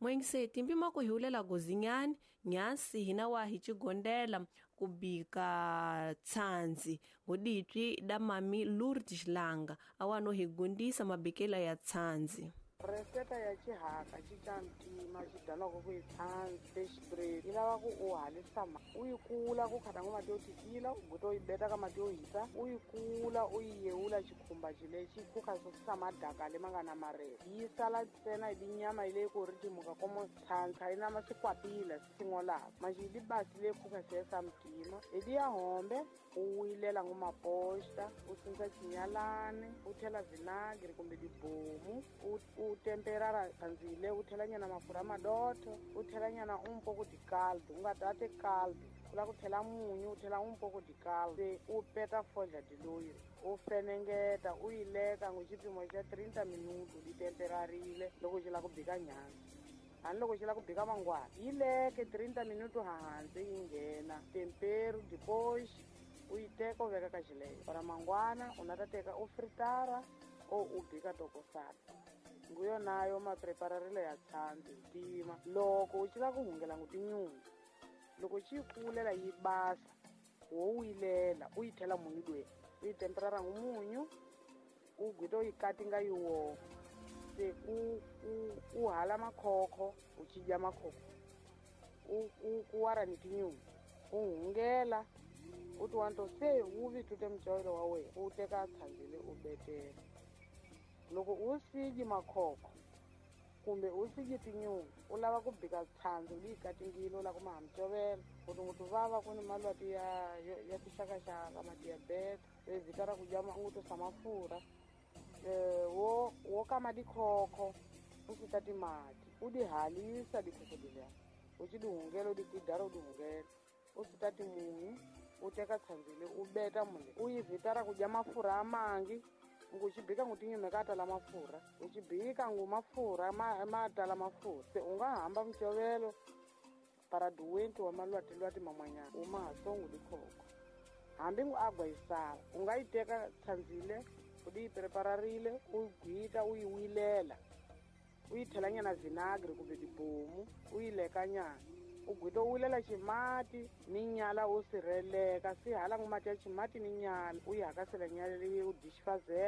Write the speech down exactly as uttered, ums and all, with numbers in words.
Mwengiseti mpima kuhiulela gozinyani nyasi hina wa hichigondela kubika tsanzi ngoditwi da mami Lourdes Langa awano higundisa mabikela ya tsanzi. Reseta ya xihaka xi xa ntima xi dyanaka ku yi tshandzi fish bread yi lava ku u halisa ma u yi kula ku khata ngo mati yo tikila u guta u yi beta ka mati yo hisa u yi kula u yi yewula xikhumba xilexi khuka swa madaka lema nga na marele yi sala ntsena hi tinyama yi leyi ku ri timuka komo tshandza yi na ma swikwapila swi manjhe yi basi leyi khuka se sa mtima hi liya hombe u wilela ngo maposta u sindza xinyalani u thela vinagre kumbe dibomu u u temperara tsandzile u thela nyana mafurha madotho u thela nyana un poco di caldo u nga tate caldo u lava ku thela munyu u thela un poco di caldo se u peta foja diloyi u fenengeta u yi leka ngo xipimo xa treinta minuto di temperarile loko xi lava ku bika nyama hani loko xi lava ku bika mangwana yi leke treinta minuto hansi yi nghena tempero depois u yi teka u veka ka xileyo para mangwana u na ta teka u fritara o u bika tokosana nguyo nayo maprepararile ya tshandzi ntima loko u xi lava ku hungela ngo tinyungu loko xi kulela yi basa wo wilela u yi thela munyu lwe u yi temperara ngo munyu u gwita u yi katinga yi woma se u u u hala makhokho u xi dya makhokho u u ku wara ni tinyungu u hungela u ti wanto se wu vitute mucovelo wa wena u teka tshandzile u betela loko u sidyi makhokho kumbe u sidyi tinyungu u lava ku bika tshandzi leyi katingile u lava ku maha mucovelo ngopfungopfu vava ku ni malwati ya ya tixakaxaka ma-diabete vhita ra ku dya ngutusa mafurha wo wo kama dikhokho u susa timati u di halisa dikhokho leliya u xi di hungela u di kidara u di hungela u susa timunyu u teka tshandzile u beta mule u yi vhita ra ku dya mafurha a mangi ngu xi bika ngu tinyume ka tala mafurha u xi bika ngu mafurha ma ma tala mafurha se u nga hamba mucovelo para duwenti wa malwati-lwati man'wanyana u ma ha songo dikhokho hambi ngu agwa yi sala u nga yi teka tshandzile u di yi prepararile u gwita u yi wilela u yi thela nyana vinagre kumbe dibomu u yi leka nyana u gwita u wilela ximati ni nyala u sirheleka si hala ngu mati ya ximati ni nyala u yi hakasela nyala leyi u dixifazela.